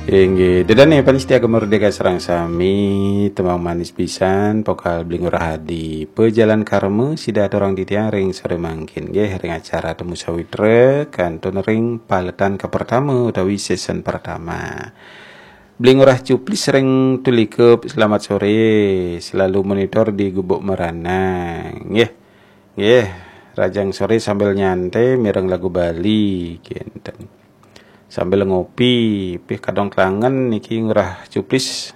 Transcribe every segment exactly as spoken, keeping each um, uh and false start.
Inggih, ida dané pamiarsa Gema Merdeka sareng sami, tembang manis pisan, vokal Bli Ngurah Adi. Pejalan Karma, sida aturang titiang ring sore mangkin, nggih, ring acara Temu Sawitra, kantun ring paletan kapertama utawi season pertama. Bli Ngurah Cuplis ring Tulikup, selamat sore, selalu monitor di Gubuk Merana, nggih. Nggih, rahajeng sore sambil nyantai, mireng lagu Bali, kinten. Sambil ngopi, pih kadang klangen niki Ngurah Cuplis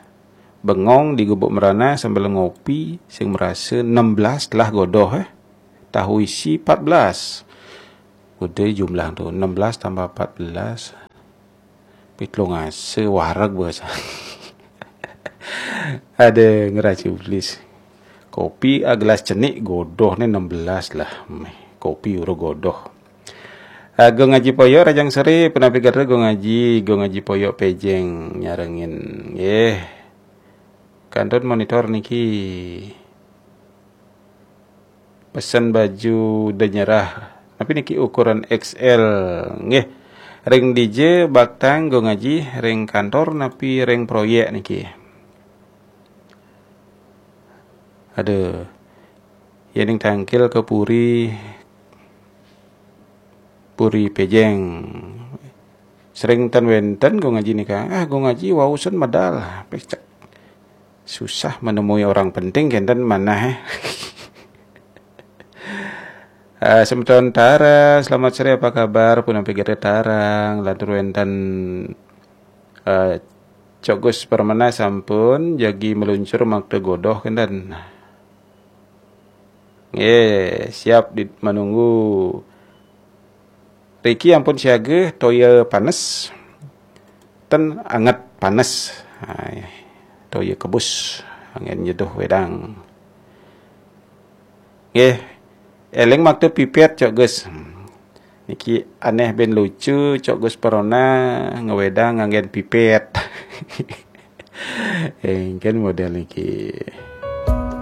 bengong di Gubuk Merana sambil ngopi, sing marasa enam belas lah godoh, eh. Tahu isi empat belas. Udah jumlah tu, enam belas tambah empat belas. Pih telung asa wareg basa. Ada Ngurah Cuplis. Kopi, ah, gelas cenik godoh ni enam belas lah. Meh, kopi uruh godoh. Ah, Gung Aji Poyok, rahajeng sore, punapi gatra Gung Aji, Gung Aji Poyok Pejeng nyarengin. Nggih. Kantun monitor niki. Pesen baju da nyerah. Napi niki ukuran X L? Nggih. Ring dija baktang Gung Aji, ring kantor napi ring proyek niki? Aduh. Yéning tangkil ka puri, puri Pejeng. Sering ten wénten Gung Aji nika. Ah, Gung Aji wau sun medal. Pecek. Susah menemui orang penting kinten manah, eh. Ah, semeton Tara, selamat sore, apa kabar? Punapi gatra Tara, lantur wénten, eh, Cok Gus Permana sampun jagi meluncur makta godoh kinten. Nggih, siap di menunggu. Riki ampun siaga toya panes. Ten anget panes. Hai, toya kebus. Anggén nyeduh wedang. Nggih, éling makta pipet, Cok Gus. Hmm. Niki anéh bin lucu, Cok Gus Permana ngewedang nganggén pipet. Éngkén model niki.